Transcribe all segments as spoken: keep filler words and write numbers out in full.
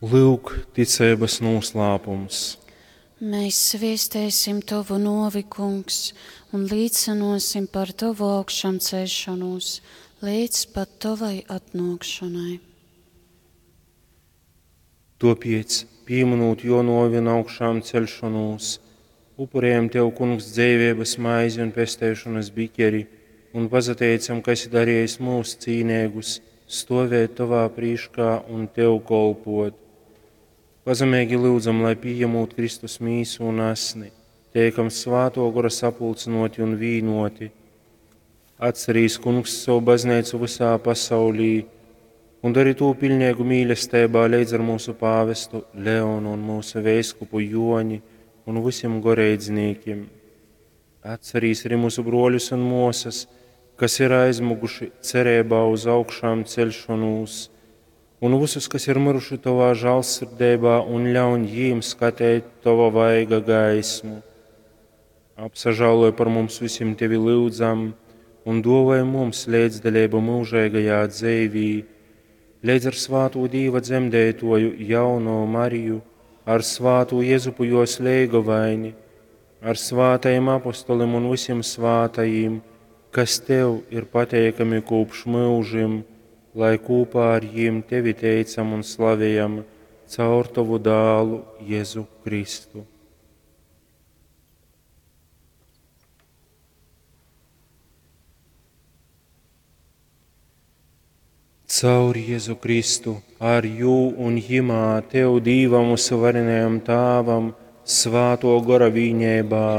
Lūk, ticeibas noslēpums. Mēs sviestēsim Tovu novi, Kungs, un līdzinosim par Tovu augšām celšanos līdz pat Tovai atnākšanai. Tāpēc, pieminot jo novi un augšām celšanos, upurējam Tev, Kungs, dzīvības maizi un pestēšanas biķeri, un pazateicam, ka esi darījis mūs cīnēgus, stovēt Tavā prīškā un Tev kolpot. Pazemīgi lūdzam, lai pieņemot Kristus mīsu un asni, teikam svāto gora sapulcinoti un vīnoti. Atcerīs, Kungs, savu baznīcu visā pasaulī un dari to pilnīgu mīlestībā līdz ar mūsu pāvestu Leonu un mūsu veiskupu Joni un visiem goreidznīkiem. Atcerīs arī mūsu broļus un mosas, kas ir aizmuguši cerībā uz augšām celšanos, un visus, kas ir miruši Tavā žālsirdībā, un ļauj jīm skatīt Tava vaiga gaismu. Apsažāloj par mums visiem Tevi lūdzam, un dāvāj mums līdzdalību mūžīgajā dzīvī, līdz ar svāto Dīva dzemdētoju jauno Mariju, ar svāto Jezupu jos leigovaini, ar svātajiem apostolim un visiem svātajiem, kas Tev ir pateikami kopš mūžim, lai kopā ar jiem Tevi teicam un slavējam caur Tavu dālu Jēzu Kristu. Caur Jēzu Kristu, ar jū un jimā Tev Dīvam uzvarenajam Tāvam, svāto gora vīņēbā,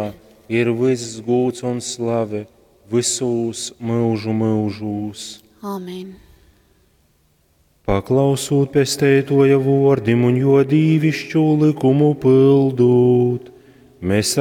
ir viss gūts un slave visūs mūžu mūžūs. Āmen. Paklausūt pestētoja vordim un jo dīvišķu likumu pildūt, mēs ar